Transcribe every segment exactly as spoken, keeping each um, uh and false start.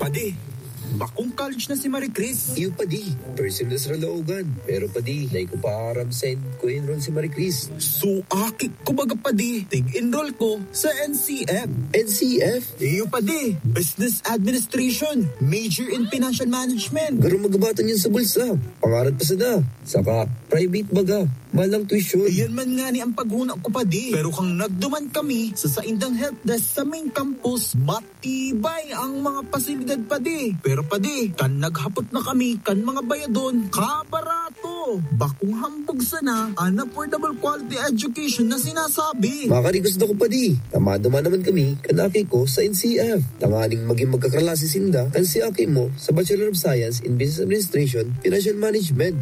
Padi, bakong college na si Marie Chris. Iyo, padi, first year na sa Caloocan. Pero, padi, dai ko pa aram saen ko enroll si Marie Chris. So, aki ko baga, padi, tig-enroll ko sa N C F. N C F? Iyo, padi, Business Administration, major in Financial Management. Garo magabatan yun sa bulsa. Pangarad pa sana. Saka, private baga. Mahal ang tuition. Iyan man nga ni ang paghuna ko, padi. Pero kang nagduman kami sa saindang help desk sa main campus, matibay ang mga pasilidad, padi. Pero, padi, kan naghapot na kami kan mga bayadon, kabarato. Bakong hambog sana an affordable quality education na sinasabi. Makakarequest ako, padi. Tama duman naman kami kan aki ko sa N C F. Tanganing magin magkaklase sinda kan si aki mo sa Bachelor of Science in Business Administration, Financial Management.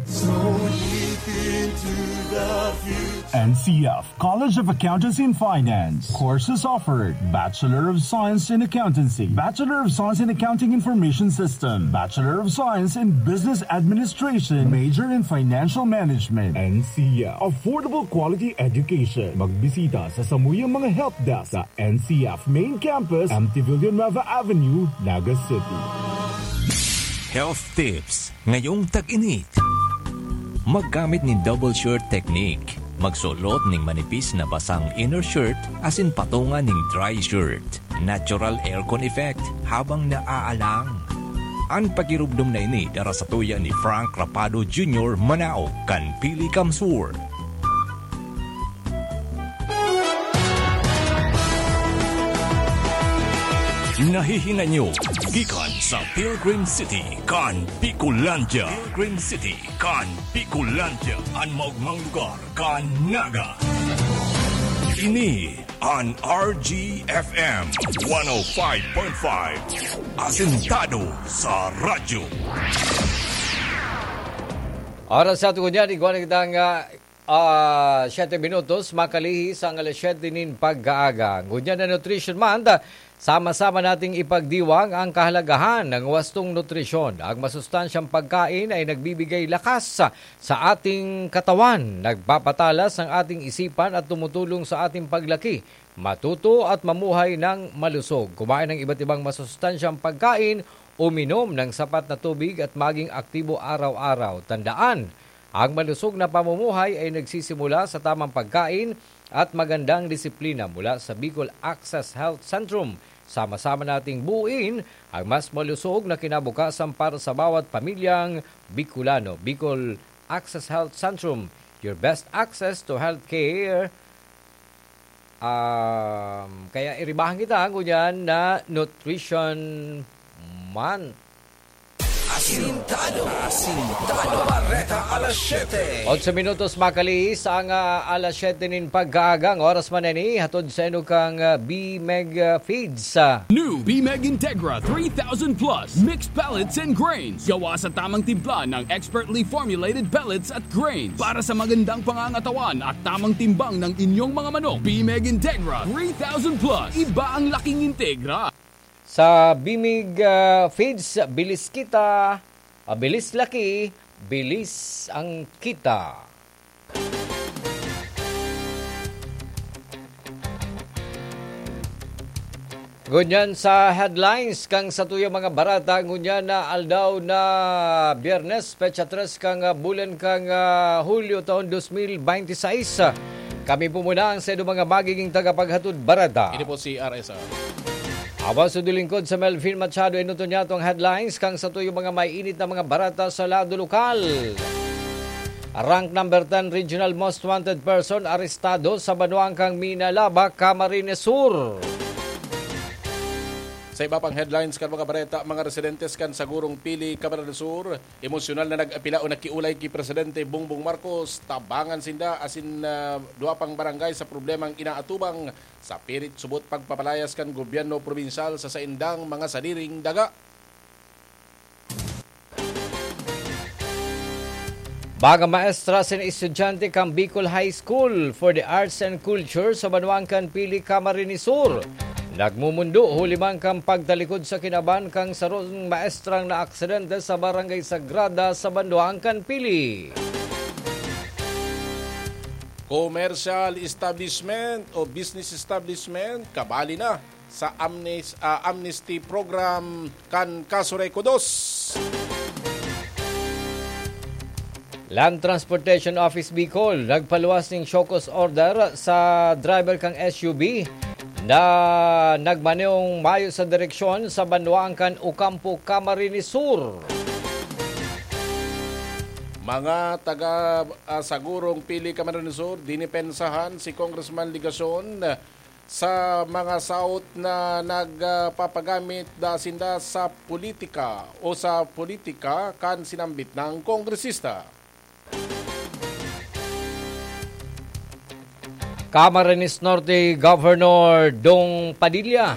N C F, College of Accountancy and Finance. Courses offered: Bachelor of Science in Accountancy, Bachelor of Science in Accounting Information System, Bachelor of Science in Business Administration, major in Financial Management. N C F, affordable quality education. Magbisita sa samuyang mga help desk sa N C F Main Campus, M T Villanueva Avenue, Naga City. Health tips ngayong tag-init. Maggamit nin double shirt technique. Magsulot nin manipis na basang inner shirt asin patunga nin dry shirt. Natural aircon effect habang naaalang. An pakirumdom na ini dara satuya ni Frank Rapado Junior, manaog kan Pili Kamsur. Nahihinanyog gikan sa Pilgrim City kan Bicolandia. Pilgrim City kan Bicolandia, an maogmang lugar kan Naga. Ini an R G F M one oh five point five, asentado sa radyo. Oras sa aton ngunyan, igwa na kita nga, ah, siyete minutos, makalihis ang alas siyete nin pagkaaga. Ngunyan na Nutrition Month, sama-sama nating ipagdiwang ang kahalagahan ng wastong nutrisyon. Ang masustansyang pagkain ay nagbibigay lakas sa ating katawan, nagpapatalas ng ating isipan at tumutulong sa ating paglaki, matuto at mamuhay ng malusog. Kumain ng iba't ibang masustansyang pagkain, uminom ng sapat na tubig at maging aktibo araw-araw. Tandaan, ang malusog na pamumuhay ay nagsisimula sa tamang pagkain at magandang disiplina mula sa Bicol Access Health Centrum. Sama-sama nating buuin ang mas malusog na kinabukasan para sa bawat pamilyang Bicolano. Bicol Access Health Centrum, your best access to healthcare. Um, kaya iribahan kita ngunyan na Nutrition Month. Asintado. Asintado. Bareta alas siyete. Otso minutos makalihis ang, ah, alas siyete nin pagkaaga. Ang oras man ini, hatod sa inyo kang, ah, B-Meg, ah, Feeds, ah. New B-Meg Integra three thousand plus mixed pellets and grains. Gawa sa tamang timpla ng expertly formulated pellets at grains para sa magandang pangangatawan at tamang timbang ng inyong mga manok. B-Meg Integra three thousand plus. Iba ang laking Integra. Sa B-Meg, ah, Feeds, bilis kita, ah, bilis laki, bilis ang kita. Ngunyan sa headlines kan satuyang mga bareta, ngunyan na aldaw na Biyernes, petsa tres kan, ah, bulan kan, ah, Hulyo, taon dos mil bente seis. Kami po muna ang sa mga magiging tagapaghatod bareta. Ini po si R S R. Awas o lingkod sa Melvin Machado, inuto niya itong headlines kan satuyang mga maiinit na mga bareta sa lado lokal. Rank number ten regional most wanted person arestado sa banwang kan Minalabac, Camarines Sur. Sa iba pang headlines kan mga bareta, mga residentes kan Sagurong Pili, Camarines Sur, emosyonal na nag-apila o nakiulay ki Presidente Bongbong Marcos, tabangan sinda asin, ah, duwa pang barangay sa problemang inaatubang sa pirit subot pagpapalayas kan gobyerno probinsyal sa saindang mga sadiring daga. Mga maestra asin estudyante kan Bicol High School for the Arts and Culture sa banwang kan Pili, Camarines Sur, nagmumundo huli man kan pagtalikod sa kinaban kan sarong maestrang naaksidente sa Barangay Sagrada sa banwang kan Pili. Commercial establishment o business establishment, kabali na sa amnes-, ah, amnesty program kan Casureco dos. Land Transportation Office Bicol nagpaluwas ning show cause order sa driver kan S U V na nagmaneong mayo sa direksyon sa banwaan kan Ocampo, Camarines Sur. Mga taga, ah, Sagurong, Pili, Camarines Sur, dinipensahan si Congressman Legacion sa mga saot na nagpapagamit da sinda sa politika o sa politika kan sinambit na kongresista. Camarines Norte Governor Dong Padilla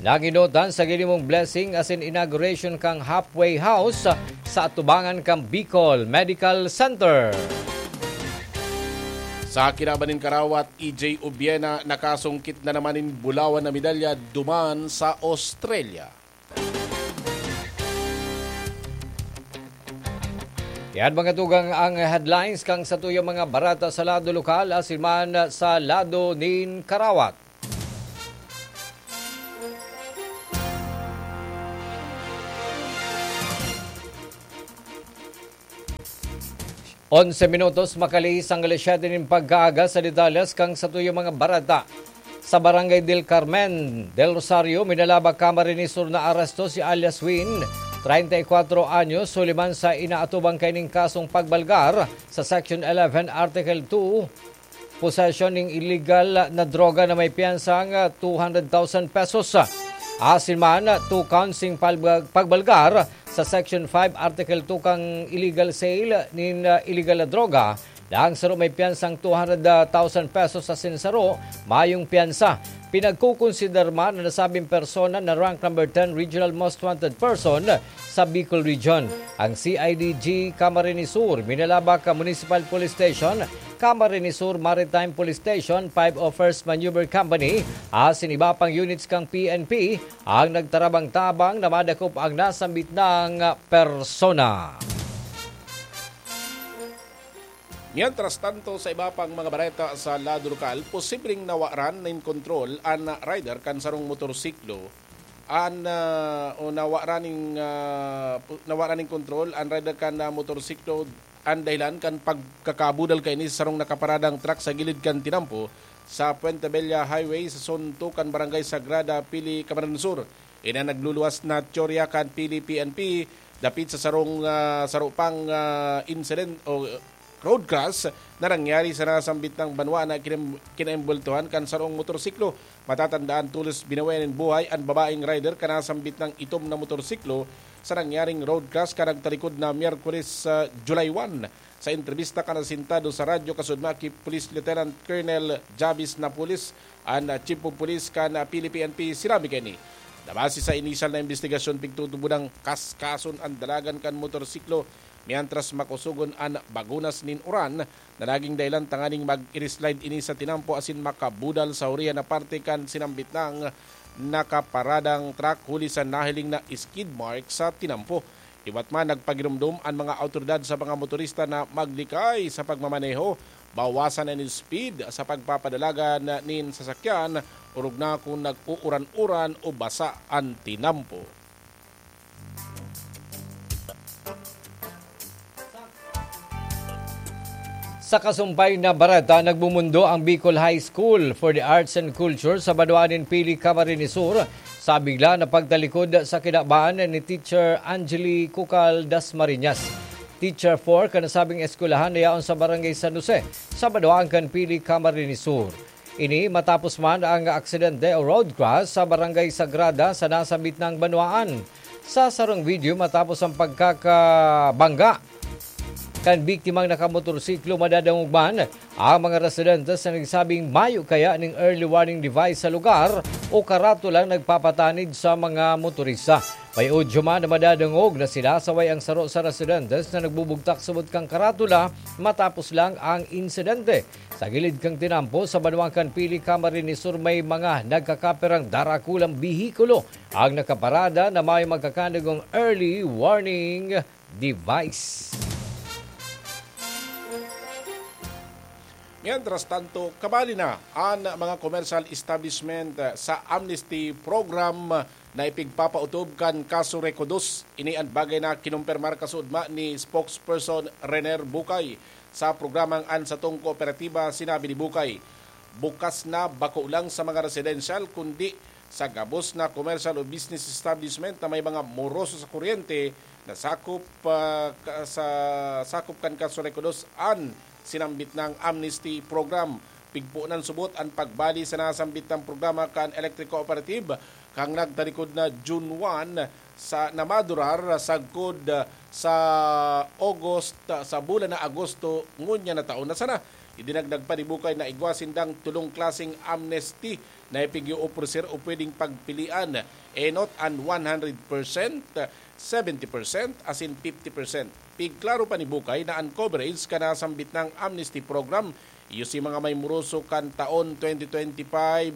naginotan sa ginimong blessing asin inauguration kan halfway house sa atubangan kan Bicol Medical Center. Sa kinaban nin karawat, E J Ubiena nakasungkit na naman nin bulawan na medalya duman sa Australia. Yan, mga tugang, ang headlines kan satuyang mga bareta sa lado lokal asin man sa lado nin karawat. Onse minutos makalihis an alas siyete nin pagkaaga. Sa detalles kan satuyang mga bareta, sa Barangay del Carmen del Rosario, Minalaba, Camarines Sur, naaresto si alias Win, treinta y cuatro anyos, huli man sa inaatubang kaining kasong pagbalgar sa Section eleven, Article two, possession ning illegal na droga na may piyansang two hundred thousand pesos. Asin man, two counts ning palba-, pagbalgar sa Section five, Article two kan illegal sale nin, ah, illegal na droga, na ang saro may piyansang two hundred thousand pesos asin saro mayong piyansa. Pinagkukonsiderar man na nasabing persona na rank number ten regional most wanted person sa Bicol Region. Ang C I D G Camarines Sur, Minalabac Municipal Police Station, Camarines Sur Maritime Police Station, five oh first Maneuver Company, asin iba pang units kan P N P ang nagtarabang-tabang na madakop ang nasambit na persona. Mientras tanto, sa iba pang mga bareta sa lado lokal, posibleng nawaran nin kontrol an rider kan sarong motorsiklo. An, ah, o nawaran nin, ah, pu-, nawaran nin kontrol an rider kan, ah, motorsiklo. An dahilan kan pagkakabudal kaini sa sarong nakaparadang truck sa gilid kan tinampo sa Puente Vella Highway sa suntukan Barangay Sagrada, Pili, Camarines Sur. Ini an nagluluwas na teorya kan Pili P N P dapit sa sarong, ah, saro pang, ah, incident o road crash na nangyari sa nasambit na banwaan na kinem-, kinaimbultuhan kan sarong motorsiklo. Matatandaan, tolos binawian nin buhay an babaeng rider kan nasambit na itom na motorsiklo sa nangyaring road crash kan nagtalikod na Miyerkules, ah, July one. Sa entrebista kan asintado sa Radyo Kasudmaki, Police Lieutenant Colonel Javis Napoles, an, ah, Chief of Police kan, ah, Pili P N P, sinabi kaini na base sa inisyal na imbestigasyon, pigtutubodang kaskason an dalagan kan motorsiklo, mientras makusogon an bagunas nin uran na naging dahilan tanganing mag-slide ini sa tinampo asin makabudal sa hurihan na parte kan sinambit na nakaparadang truck huli sa nahiling na skid mark sa tinampo. Liwat man, nagpagiromdom an mga awtoridad sa mga motorista na maglikay sa pagmamaneho, bawasan an speed sa pagpapadalagan nin sasakyan, orog na kun nag-uuran-uran o basa an tinampo. Sa kasumpay na bareta, nagmumundo ang Bicol High School for the Arts and Culture sa banwaan nin Pili, Camarines Sur, sa bigla na pagtalikod sa kinaban ni Teacher Angeli Cucal Dasmariñas, Teacher four kan nasabing eskwelahan na yaon sa Barangay San Jose, sa banwaan kan Pili, Camarines Sur. Ini matapos man ang aksidente o road crash sa Barangay Sagrada sa nasambit na banwaan. Sa sarong video, matapos ang pagkakabangga kan biktimang nakamotorsiklo, madadangog man ang mga residentes na nagsabing mayo kaya ning early warning device sa lugar o karatulang nagpapatanid sa mga motorista. May audio man na madadangog na sinasaway ang saro sa residentes na nagbubugtak subot kan karatula matapos lang ang insidente. Sa gilid kan tinampo, sa banwaan kan Pili, Camarines Sur, may mga nagkakaperang darakulang behikulo ang nakaparada na may magkakandagong early warning device. Mientras tanto, kabali na an mga commercial establishment sa amnesty program na ipigpapautob kan kaso Recodos. Ini an bagay na kinumpirmar kasuodma ni spokesperson Rener Bukay. Sa programang An Satong Kooperatiba, sinabi ni Bukay, bukas na bako lang sa mga residential kundi sa gabos na commercial o business establishment na may mga moroso sa kuryente na sakop, ah, ka- sa sakop kan kaso Recodos an sinambit nang amnesty program. Pigpoon subot an pagbali sa nasambit na programa kan Electric Cooperative kan nagtalikod na June one sa namadurar sagkod sa August, sa bulan na Agosto ngunyan na taon na sana. Idinagdag pa ni Bukay na igwa sindang tulong klaseng amnesty na ipig-oofreser o pwedeng pagpilian, enot an one hundred percent, seventy percent asin fifty percent. Pigklaro pa ni Bukay na an coverage kan nasambit nang amnesty program iyo si mga may moroso kan taon twenty twenty-five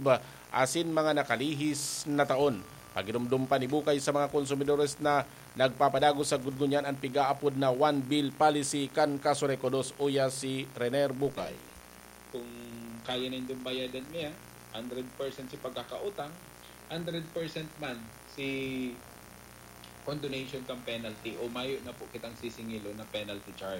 asin mga nakalihis na taon. Pagirumdom pa ni Bukay sa mga konsumidores na nagpapadagos sa gudgunyan an pigaapod na one bill policy kan Kaso Recodos, uya si Rener Bukay. Kung kaya nindong bayadan niya, hundred percent si pagkakautang, hundred percent man si condonation kan penalty o mayo na po kitang sisingilon na penalty charge.